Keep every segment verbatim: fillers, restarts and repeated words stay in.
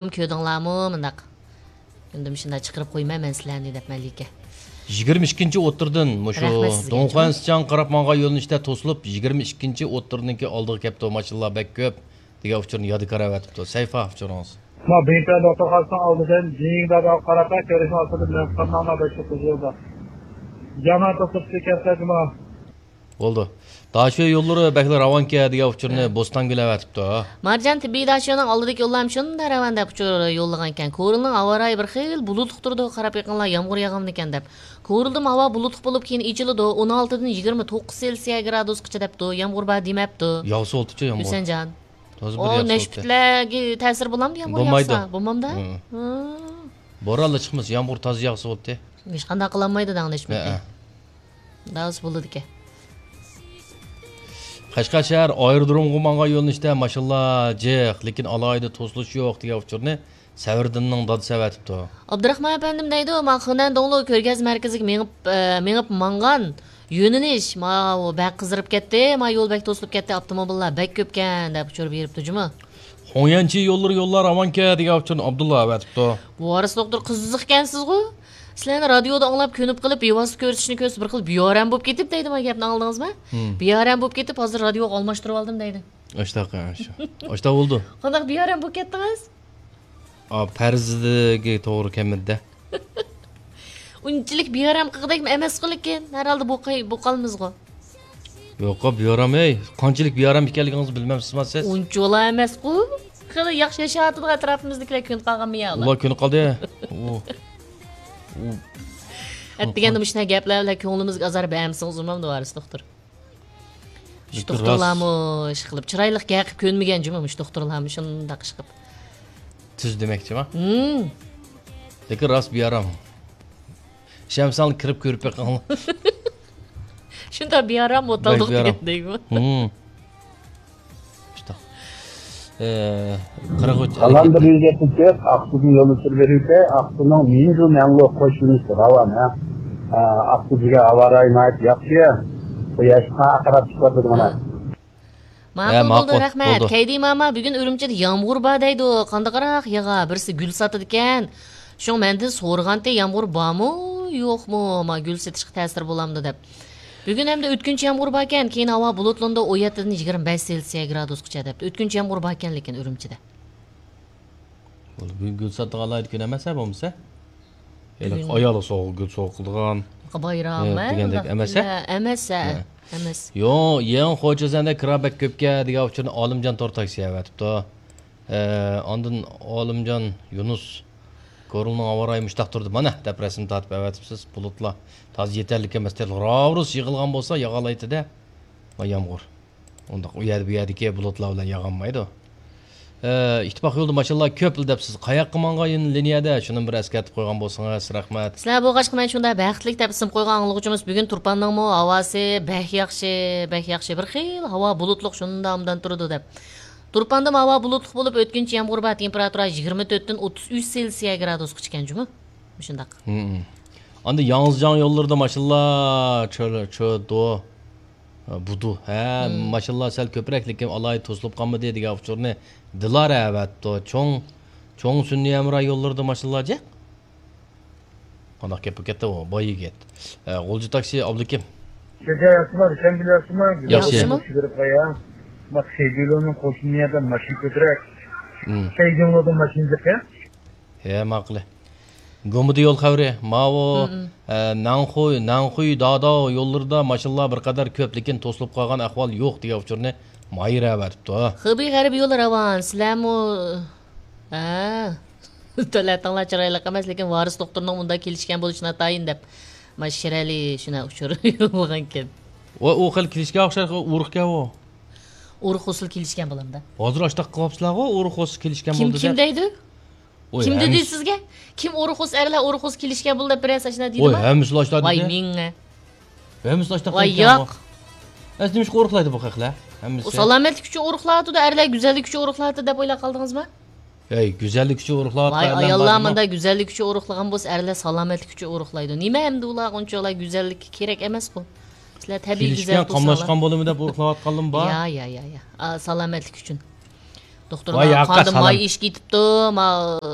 كۆردۈڭلارمۇ مۇنداق؟ كۈندە مۇشۇنداق چىقىرىپ قويىمەن مەن سىلەرنى دەپ مەلىكە. يىگىرمە ئىككىنچى ئوتتۇرىدىن مۇشۇ رەھمەت سىزگە، دۇڭخۇەن جۇمۇ. سىچاڭغا قاراپ ماڭغان يۆنىلىشتە توسۇلۇپ، يىگىرمە ئىككىنچى ئوتتۇرىنىڭكى ئالدىغا كەپتۇ، ماشىنىلار بەك كۆپ دېگەن ئۇچۇرنى يادىكار ئەۋەتىپتۇ. سەيفا ئۇچۇرىڭىز. ما بىڭتۈەن دوختۇرخانىسىنىڭ ئالدىدىن جىڭدادا قاراپ كۆرۈشنىڭ ئاستىدا مېڭىپ قالماڭلار، بەك كۆپ يولدا. يامان توسۇپ كەتسە جۇمۇ. بولدى. داشۆ يوللىرى بەكلا راۋانكەن دېگەن ئۇچۇرنى ھە. بوستانگۈل ئەۋەتىپتۇ. مارجان تېببىي داشۆنىڭ ئالدىدىكى يوللارمۇ شۇنداق راۋان دەپ ئۇچۇر يوللىغانىكەن. كورلىنىڭ ھاۋا رايى بىر خىل بۇلۇتلۇق تۇرىدۇ، قاراپ بېقىڭلار، يامغۇر ياغامدىكەن دەپ. كورلىدىمۇ ھاۋا بۇلۇتلۇق بولۇپ، كېيىن ئېچىلىدۇ، ئون ئالتىدىن يىگىرمە توققۇز سېلسىيە گرادۇسقىچە دەپتۇ، يامغۇر بار دېمەپتۇ. ياغسا بولدىچۇ يامغۇر. ھۈسەنجان. تازا بىر ئو، ياغسا بولدى. نەشپۈتلەرگە تەسىر بولامدۇ يامغۇر بولمايدۇ. ياغسا؟ بولمامدا؟ ھە. ھە. بورانلا چىقمىسا، يامغۇر تازا ياغسا بولدى. ھېچقانداق قىلالمايدۇ دەڭ نەشپۈتنى. ھە. داۋسى بولىدىكەن. قەشقەر شەھەر ئايرودرومغا ماڭغان يۆنىلىشتە ماشىنىلار جىق، لېكىن ئالاھىدە توسۇلۇش يوق دېگەن ئۇچۇرنى سەۋرىدىننىڭ دادىسى ئەۋەتىپتۇ. ئابدۇراخمان ئەپەندىم دەيدۇ، ما خېنەن دوڭلۇ كۆرگەزمە مەركىزىگە مېڭىپ، ئە، مېڭىپ ماڭغان يۆنىلىش، ماۋۇ بەك قىزىرىپ كەتتى، ما يول بەك توسۇلۇپ كەتتى، ئاپتوموبىللار بەك كۆپكەن، دەپ ئۇچۇر بېرىپتۇ جۇمۇ. خۇڭيەنچى يوللىرى يوللار راۋانكەن دېگەن ئۇچۇرنى ئابدۇللا ئەۋەتىپتۇ. ۋارىس دوختۇر قىزىقكەنسىزغۇ؟ سىلەرنى رادىيودا ئاڭلاپ، كۆنۈپ قېلىپ، بىۋاسىتە كۆرسىتىشنى كۆرسە بىر خىل بىئارام بولۇپ كېتىپ دەيدۇ، ما گەپنى ئاڭلىدىڭىزمۇ؟ ھىم. بىئارام بولۇپ كېتىپ، ھازىر رادىيوغا ئالماشتۇرۇۋالدىم دەيدۇ. ئاشتاق، ئاشتاق. ئاشتاق بولدى. قانداق بىئارام بولۇپ كەتتىڭىز؟ ئا، پەرىزىگە توغرا كەلمىدى-دە. ئۇنچىلىك بىئارام قىلغۇدەكمۇ ئەمەسقۇ، لېكىن ھەر ھالدا بوقاي-، بوقالمىزغۇ. يوققا، بىئارام، ھەي، قانچىلىك بىئارام ئىكەنلىكىڭىزنى بىلمەمسىزما سىز؟ ئۇنچىۋالا ئەمەسقۇ. خېلى ياخشى ياشاۋاتىدىغۇ ئەتراپىمىزدىكىلەر كۆنۈپ قالغانمۇ يا ئۇلار؟ ئۇلار كۆنۈپ قالدى. ئۇ، ئۇ. ئەتىگەندە مۇشۇنداق گەپلەر بىلەن كۆڭلىمىزگە ئازار بەرمىسىڭىز بولمامدۇ، ۋارىس دوختۇر؟ مۇشۇ لېكىن دوختۇرلارمۇ ئىشقىلىپ، چىرايلىق گەپ قىلىپ كۆنمىگەن جۇمۇ، مۇشۇ دوختۇرلارمۇ شۇنداق ئىشقىلىپ. تۈز دېمەكچىما؟ ھىم. لېكىن راست بىئارام. ئىشەنمىسەڭلار كىرىپ كۆرۈپ بېقىڭلار. شۇنداق بىئارام ئوتالدۇق بەك بىئارام. دېگەندەكمۇ؟ ھىم. شۇنداق. ئە، قىرىق ئۈچ قالغان بىر يۈز يەتمىش تۆت ئاقسۇدىن يول ئۆتۈپ بېرىلسە، ئاقسۇنىڭ مىنجۇ مەڭلۇ قوشۇنىسى راۋان، ھە. ئە، ئاقسۇ دېگەن ھاۋا رايى ناھايىتى ياخشى. قۇياشقا قاراپ چىقىۋاتىدۇ مانا. ھە، ماقۇل بولدى، ماقۇل، رەھمەت. بولدى. كەيدى ماما، بۈگۈن ئۈرۈمچىدە يامغۇر بار دەيدۇ. قانداقراق ياغا؟ بىرسى گۈل ساتىدىكەن. شۇڭا مەندىن سورىغانتى، يامغۇر بارمۇ، يوقمۇ؟ ما گۈل سېتىشقا تەسىر بولامدۇ دەپ. بۈگۈن ھەمدە ئۆتكۈنچى يامغۇر باركەن، كېيىن ھاۋا بۇلۇتلىنىدۇ، ئون يەتتىدىن يىگىرمە بەش سېلسىيە گرادۇسقىچە دەپتۇ. ئۆتكۈنچى يامغۇر باركەن، لېكىن ئۈرۈمچىدە. بولدى، بۈگۈن گۈل ساتىدىغان ئالاھىدە كۈن ئەمەس ھە بولمىسا؟ ھېلىقى بۈگۈن ئايالغا سوۋغا، گۈل سوۋغا قىلىدىغان، بايرام، ھە، ھە، دېگەندەك ئۇنداق ئەمەس ھە؟ كۈنلەر ئەمەس ھە، ھە. ئەمەس. يو، يېڭى خوجازەندە كىرا بەك كۆپكەن دېگەن ئۇچۇرنى ئالىمجان تور تاكسى ئەۋەتىپتۇ. ئە، ئاندىن ئالىمجان يۇنۇس، كورلىنىڭ ھاۋا رايى مۇشتاق تۇردى، مانا، دەپ رەسىم تارتىپ ئەۋەتىپسىز. بۇلۇتلار تازا يېتەرلىك ئەمەس، تېخى راۋۇرۇس يىغىلغان بولسا ياغالايتتى-دە. ما يامغۇر. ئۇنداق ئۇ يەردە بۇ يەردىكى بۇلۇتلار بىلەن ياغانمايدۇ. ئە، ئىتتىپاق يولىدا ماشىنىلار كۆپ دەپسىز. قاياققا ماڭغان لىنىيەدە؟ شۇنى بىر ئەسكەرتىپ قويغان بولسىڭىز، رەھمەت. سىلەر بولغاچقا مەن شۇنداق بەختلىك دەپ ئىسىم قويغان ئاڭلىغۇچىمىز بۈگۈن تۇرپاننىڭمۇ ھاۋاسى بەك ياخشى، بەك ياخشى. بىر خىل ھاۋا بۇلۇتلۇق شۇنداق ئوبدان تۇرىدۇ دەپ. تۇرپاندىمۇ ھاۋا بۇلۇتلۇق بولۇپ، ئۆتكۈنچى يامغۇر بار، تېمپېراتۇرا يىگىرمە تۆتتىن ئوتتۇز ئۈچ سېلسىيە گرادۇسقىچە ئىكەن جۇمۇ. مۇشۇنداق. ھىم. ئاندىن ياڭزىجاڭ يوللىرىدا ماشىنىلار چۆ-، چۆدۇ. بۇدۇ. ھە، ماشىنىلار سەل كۆپرەك، لېكىن ئالاھىدە توسۇلۇپ قالمىدى دېگەن ئۇچۇرنى دىلارا ئەۋەتىپتۇ. چوڭ، چوڭ سۈنئىي ھەمراھ يوللىرىدا ماشىنىلار جىق. قانداق گەپ بولۇپ كەتتى ئۇ، باي يىگىت. ھە، غۇلجا تاكسى ئابلىكىم. سىزگە ياخشىمۇ، شەمبىلەرسىمۇ؟ ياخشى. ياخشىمۇ؟ چىقىرىپ قويا. بۇ سەيدۇللونىڭ قوشنىيەدە ماشىنا كۆپرەك. ھىم. سەيدۇللودا ماشىنا جىق. ھە، ماقۇل. گۇمىدا يول خەۋىرى، ماۋۇ، ھىم. ئە، ناڭخۇي، ناڭخۇي داداۋ يوللىرىدا ماشىنىلار بىر قەدەر كۆپ، لېكىن توسۇلۇپ قالغان ئەھۋال يوق دېگەن ئۇچۇرنى ماھىر ئەۋەتىپتۇ. خېبېي غەربىي يولى راۋان، سىلەرمۇ، ھە، تۆلەتىڭلار چىرايلىق ئەمەس، لېكىن ۋارىس دوختۇرنىڭ مۇنداق كېلىشكەن بولۇشى ناتايىن دەپ، ما شىرئەلى شۇنى ئۇچۇر يوللىغانكەن. ۋاي، ئۇ خېلى كېلىشكەن ئوخشايدۇ، ئۇرۇقكەن ئۇ. ئۇرۇق ھوسۇل كېلىشكەن بولامدا. ھازىر ئاشتاق قىلىۋاپسىلەرغۇ، ئۇرۇق ھوسۇل كېلىشكەن كىم، بولدى كىم دەپ. دەيدۇ؟ ۋاي، كىم دېدى ھەممىسى سىزگە؟ كىم ئۇرۇق ھوسۇل، ئەرلەر ئۇرۇق ھوسۇل كېلىشكەن بولدى دەپ بىرەرسى ئاشۇنداق دېدىما؟ ۋاي، ھەممىسى ئاشتاق ۋاي دېدى. مىڭە. ھەممىسى ئاشتاق ۋاي، دېگەن ياق. ئەسلى نېمىشقا ئۇرۇقلايدۇ بۇ خەقلەر؟ ھەممىسى. ئۇ سالامەتلىك ئۈچۈن ئۇرۇقلاۋاتىدۇ، ئەرلەر گۈزەللىك ئۈچۈن ئۇرۇقلاۋاتىدۇ دەپ ئويلاپ قالدىڭىزما؟ ھەي، گۈزەللىك ئۈچۈن ئۇرۇقلاۋاتقان ۋاي، ئەرلەر ئاياللار بارمۇ؟ مۇنداق گۈزەللىك ئۈچۈن ئۇرۇقلىغان بولسا، ئەرلەر سالامەتلىك ئۈچۈن ئۇرۇقلايدۇ. نېمە ئەمدى ئۇلار ئۇنچىۋالا گۈزەللىككە كېرەك ئەمەسقۇ؟ سىلەر تەبىئىي كېلىشكەن، گۈزەل تۇرساڭلار. قاملاشقان بولىمۇ دەپ ئۇرۇقلاۋاتقانلىمۇ بار. يا، يا، يا، يا. ئا، سالامەتلىك ئۈچۈن. دوختۇرلار، ۋاي ياقا، قاندا سالام. ماي ئېشىپ كېتىپتۇ، ما،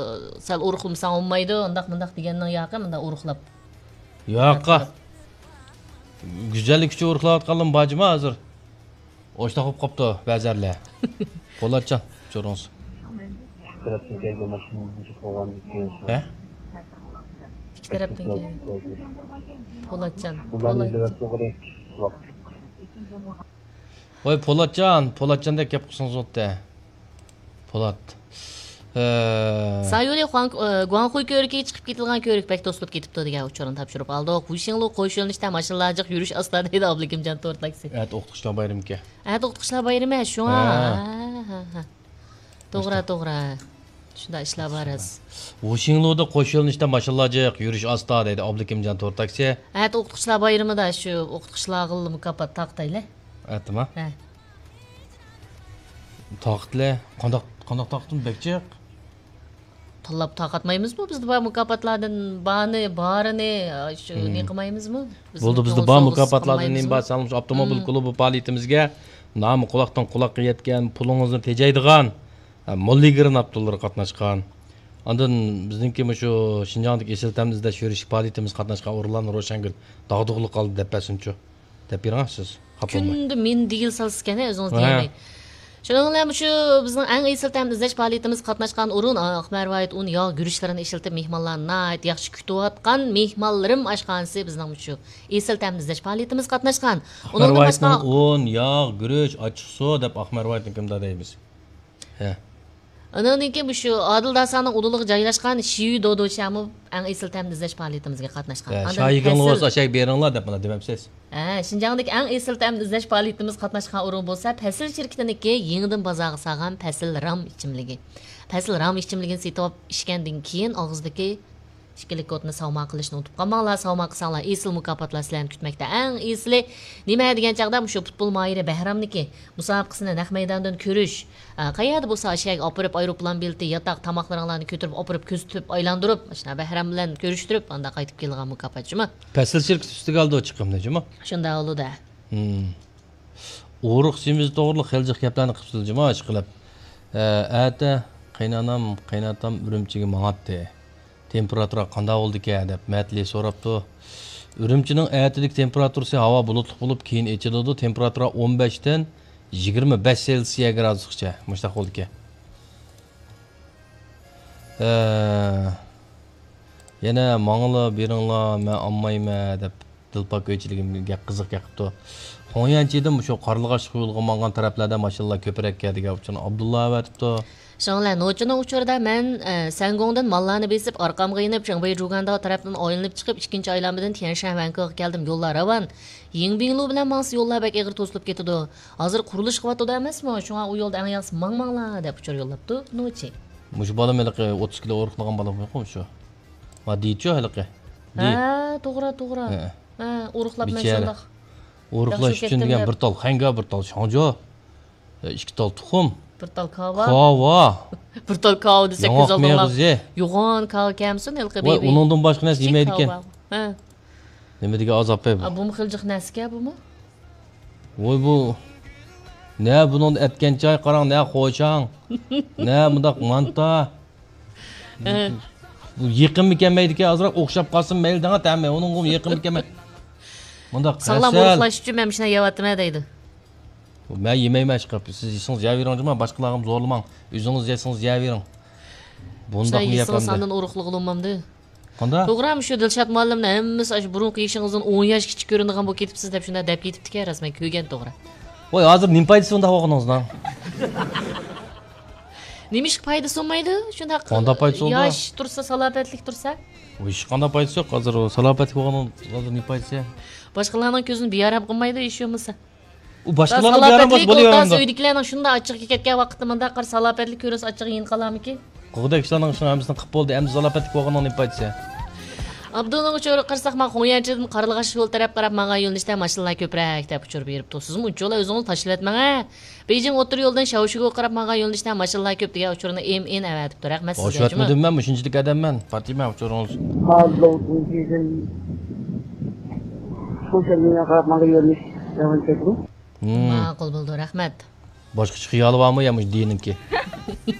سەل ئورۇقلىمىساڭ بولمايدۇ، ئۇنداق مۇنداق دېگەننىڭ ياقى، مۇنداق ئورۇقلاپ. ياقا. گۈزەللىك ئۈچۈن ئورۇقلاۋاتقانلارمۇ بار جۇما ھازىر. ئوشتاق بولۇپ قاپتۇ بەزىلەر. پولاتجان، ئۇچۇرىڭىز. ھە؟ ئىككى تەرەپتىن كەلگەن. پولاتجان. پولات. ۋاي پولاتجان، پولاتجاندەك گەپ قىلسىڭىز بولاتتى. پولات. ھە. سايۇلى خۇاڭ-، ئە، گۇاڭخۇي كۆۋرۈكىگە چىقىپ كېتىدىغان كۆۋرۈك بەك توسۇلۇپ كېتىپتۇ دېگەن ئۇچۇرنى تاپشۇرۇپ ئالدۇق. ۋۇشىڭلۇ قوش يۆنىلىشتە ماشىنىلار جىق، يۈرۈش ئاستا دەيدۇ ئابلىكىمجان تور تاكسى. ئەتە ئوقۇتقۇچىلار بايرىمىكەن. ئەتە ئوقۇتقۇچىلار بايرىمى، شۇڭا. ھە. ھە، ھە، ھە. توغرا، توغرا. شۇنداق ئىشلار بار راست. ۋۇشىڭلۇدا قوش يۆنىلىشتە ماشىنىلار جىق، يۈرۈش ئاستا دەيدۇ ئابلىكىمجان تور تاكسى. ئەتە ئوقۇتقۇچىلار بايرىمىدا شۇ ئوقۇتقۇچىلارغىلا مۇكاپات تارقىتايلى. ئەتىما؟ ھە. تارقىتىلى. قانداق، قانداق تارقىتىمىز بەك جىق؟ تاللاپ تارقاتمايمىزمۇ؟ بىزدە بار مۇكاپاتلاردىن بارنى، بارىنى، شۇ، مم، نېمە قىلمايمىزمۇ؟ بىزنىڭ بولدى، بىزدە بار مۇكاپاتلاردىن نېمە بار، سالمىش ئاپتوموبىل، مم، كۇلۇبى پائالىيىتىمىزگە نامى قۇلاقتىن قۇلاققا يەتكەن، پۇلىڭىزنى تېجەيدىغان، ھە، موللىگرېن ئاپتورلىرى قاتناشقان. ئاندىن بىزنىڭكى مۇشۇ شىنجاڭدىكى ئېسىل تەمنى ئىزدەش يۈرۈشلۈك پائالىيىتىمىزگە قاتناشقان ئورۇنلارنى روشەنگۈل داغدۇغىلىق قالدى دەپ بەرسۇنچۇ. دەپ بېرىڭ سىز. خاپا بولماي. كۈندە مېنى دېگىلى سالىسىكەن، ئۆزىڭىز، ھە، دېيەلمەي. شۇنىڭ بىلەن مۇشۇ بىزنىڭ ئەڭ ئېسىل تەم ئىزدەش پائالىيىتىمىزغا قاتناشقان ئورۇن، ئا، ئاقمەرۋايىت ئۇن ياغ گۈرۈچلىرىنى ئىشلىتىپ، مېھمانلارنى ناھايىتى ياخشى كۈتۈۋاتقان مېھمانلىرىم ئاشخانىسى بىزنىڭ مۇشۇ ئېسىل تەم ئىزدەش پائالىيىتىمىزگە قاتناشقان. ئۇنىڭدىن باشقا ئاقمەرۋايىتنىڭ ئۇن، ياغ، گۈرۈچ، ئاچچىق سۇ دەپ ئاقمەرۋايىتنىڭكىمدا دەيمىز. ھە. ئۇنىڭدىن كېيىن مۇشۇ ئادىل داسانىڭ ئۇدۇلىغا جايلاشقان شىيۈ دودۇچيامۇ ئەڭ ئېسىل تەمنى ئىزدەش پائالىيىتىمىزگە قاتناشقان. ھە، ئاندىن شايىگىڭلار پەسىل بولسا ئاشاي بېرىڭلار دەپ مانا دېمەمسىز؟ ھە، شىنجاڭدىكى ئەڭ ئېسىل تەمنى ئىزدەش پائالىيىتىمىزگە قاتناشقان ئورۇن بولسا پەسىل شىركىتىنىڭكى يېڭىدىن بازارغا سالغان پەسىل رام ئىچىملىكى. پەسىل رام ئىچىملىكىنى سېتىۋاپ ئىچكەندىن كېيىن ئاغزىدىكى ئىككىلىك كودنى ساۋماق قىلىشنى ئۇنتۇپ قالماڭلار. ساۋماق قىلساڭلار ئېسىل مۇكاپاتلار سىلەرنى كۈتمەكتە. ئەڭ ئېسىلى نېمە دېگەن چاغدا مۇشۇ پۇتبول ماھىرى بەھرامنىڭكى مۇسابىقىسىنى نەق مەيداندىن كۆرۈش. ئە، قەيەردە بولسا ئاشۇ يەرگە ئاپىرىپ ئايروپىلان بېلىتى، ياتاق، تاماقلىرىڭلارنى كۆتۈرۈپ ئاپىرىپ كۆزىتىپ ئايلاندۇرۇپ، ئاشۇنداق بەھرام بىلەن كۆرۈشتۈرۈپ ئانداق قايتىپ كېلىدىغان مۇكاپات جۇمۇ. پەسىل شىركىتى ئۈستىگە ئالىدۇ چىقىمنى جۇمۇ. شۇنداق بولىدۇ. ھىم. ئورۇق سېمىزى توغرىلىق خېلى جىق گەپلەرنى قىپسىز جۇمۇ ئىشقىلىپ. ئە، ئەتە قېينانام، قېيناتام ئۈرۈمچىگە ماڭاتتى. تېمپېراتۇرا قانداق بولىدىكەن دەپ مەتلى سوراپتۇ. ئۈرۈمچىنىڭ ئەتىدىكى تېمپېراتۇرىسى ھاۋا بۇلۇتلۇق بولۇپ، كېيىن ئېچىلىدۇ. تېمپېراتۇرا ئون بەشتىن يىگىرمە بەش سېلسىيە گرادۇسقىچە مۇشۇنداق بولىدىكەن. ئە، يەنە ماڭىلا بېرىڭلار، مەن ئالمايمەن دەپ دىلپاك ئۆيچىلىكىم گەپ قىزىق گەپ قىپتۇ. خۇڭيەنچىدىن مۇشۇ قارلىغاچلىق يولىغا ماڭغان تەرەپلەردە ماشىنىلار كۆپرەككەن دېگەن ئۇچۇرنى ئابدۇللا ئەۋەتىپتۇ. شاڭلە نوچىنىڭ ئۇچۇرىدا مەن، ئە، سەنگۇڭدىن ماللارنى بېسىپ، ئارقامغا يېنىپ، شېڭبېي جۇگانداۋ تەرەپتىن ئايلىنىپ چىقىپ، ئىككىنچى ئايلانمىدىن تيەنشەن ۋەنكېغا كەلدىم. يوللار راۋان. يىڭبىڭلۇ بىلەن ماڭسا يوللار بەك ئېغىر توسۇلۇپ كېتىدۇ. ھازىر قۇرۇلۇش قىلىۋاتىدۇ ئەمەسمۇ؟ شۇڭا ئۇ يولدا ئەڭ ياخشىسى ماڭماڭلار دەپ ئۇچۇر يوللاپتۇ نوچى. مۇشۇ بالام ھېلىقى ئوتتۇز كىلو ئورۇقلىغان بالىمۇ شۇ. ما دېيىچۇ ھېلىقى. دېي. ھە، توغرا، توغرا. ھە. ھە، ئورۇقلاپ مەن بىچارە. شۇنداق ئورۇقلاش ياخشى ئۈچۈن كەتتىم دېگەن دەپ. بىر تال خەڭگە، بىر تال شاڭجۇ، ئىككى تال تۇخۇم. بىر تال كاۋا. كاۋا. بىر تال كاۋا دېسەك ياڭاق كۆز ئالدىڭلار مېغىزى. يوغان كاۋا كەمسۇن ھېلىقى ۋاي، بېبى. ئۇنىڭدىن باشقا نەرسە كىچىك يېمەيدىكەن. كاۋا. ھە. نېمە دېگەن ئازاب بۇ؟ ئا، بۇمۇ خېلى جىق نەرسىكەن بۇمۇ. ۋوي بۇ. نە بۇنىڭدا ئەتكەن چاي قاراڭ، نە خوشاڭ. نە مۇنداق مانتا. ھە. بۇ يېقىممۇ كەلمەيدىكەن، ئازراق ئوخشاپ قالسىمۇ مەيلى دەڭە تەمى، ئۇنىڭغىمۇ يېقىممۇ كەلمەي. مۇنداق ساغلام ھەسەل. ئورۇقلاش ئۈچۈن مەن مۇشۇنداق يەۋاتىمەن دەيدۇ. مەن يېمەيمەن ئىشقىلىپ، سىز يېسىڭىز يەۋېرىڭ جۇما، باشقىلارغىمۇ زورلىماڭ، ئۆزىڭىز يەسىڭىز يەۋېرىڭ. بۇنداقمۇ يەپ يېسىڭىز ئاندىن ئورۇقلىغىلى بولمامدۇ؟ قانداق؟ توغرا، مۇشۇ دىلشات مۇئەللىمنى ھەممىسى ئاشۇ بۇرۇنقى يېشىڭىزدىن ئون ياش كىچىك كۆرۈنىدىغان بولۇپ كېتىپسىز دەپ شۇنداق دەپ كېتىپتىكەن، راست مەن كۆرگەن توغرا. ۋاي، ھازىر نېمە پايدىسى ئۇنداق بولغىنىڭىزنىڭ؟ نېمىشقا پايدىسى بولمايدۇ؟ شۇنداق قانداق پايدىسى بولىدۇ؟ ياش تۇرسا، سالاپەتلىك تۇرسا. ۋاي، ھېچقانداق پايدىسى يوق. ھازىر ئۇ سالاپەتلىك بولغاننىڭ ھازىر نېمە پايدىسى؟ باشقىلارنىڭ كۆزىنى بىئارام قىلمايدۇ، ھېچ بولمىسا. ئۇ باشقىلارنى بىئارام قىلسا بولۇۋېرىدۇ. ئۆيدىكىلەرنىڭ شۇنداق ئاچچىقى كەتكەن ۋاقىتتا مۇنداق قارا سالاپەتلىك كۆرۈنسە ئاچچىقى يېنىق قالارمىكىن؟ قىلغۇدەك ئىشلارنىڭ ئىشىنىڭ ھەممىسىنى قىپ بولدى، ئەمدى سالاپەتلىك بولغاننىڭ نېمە پايدىسى؟ ئابدۇنىڭ ئۇچۇرىغا قارىساق، مانا خۇڭيەنچىدىن قارلىغاچ يول تەرەپ قاراپ ماڭغان يۆنىلىشتە ماشىنىلار كۆپرەك دەپ ئۇچۇر بېرىپتۇ. سىزمۇ ئۇنچىۋالا ئۆزىڭىز تاشلىۋەتمەڭ ھە. بېيجىڭ ئوتتۇرا يولىدىن شياۋشىگۇغا قاراپ ماڭغان يۆنىلىشتە ماشىنىلار كۆپ دېگەن ئۇچۇرنى ئېم ئېن ئەۋەتىپتۇ. رەھمەت سىزگە، جۇما. ئاشۇۋەتمىدىم مەن، مۇشۇنچىلىك ئادەممەن. پاتىمە، ئۇچۇرىڭىز. ماۋۇ لوڭتىڭ كېيىدىن شۇ شەنگىڭگە قاراپ ماڭغان يۆنىلىش داۋام ئېتىدۇ. ماقۇل بولدى، رەھمەت. باشقىچە خىيالى بارمۇ يا مۇشۇ دىنىڭكى؟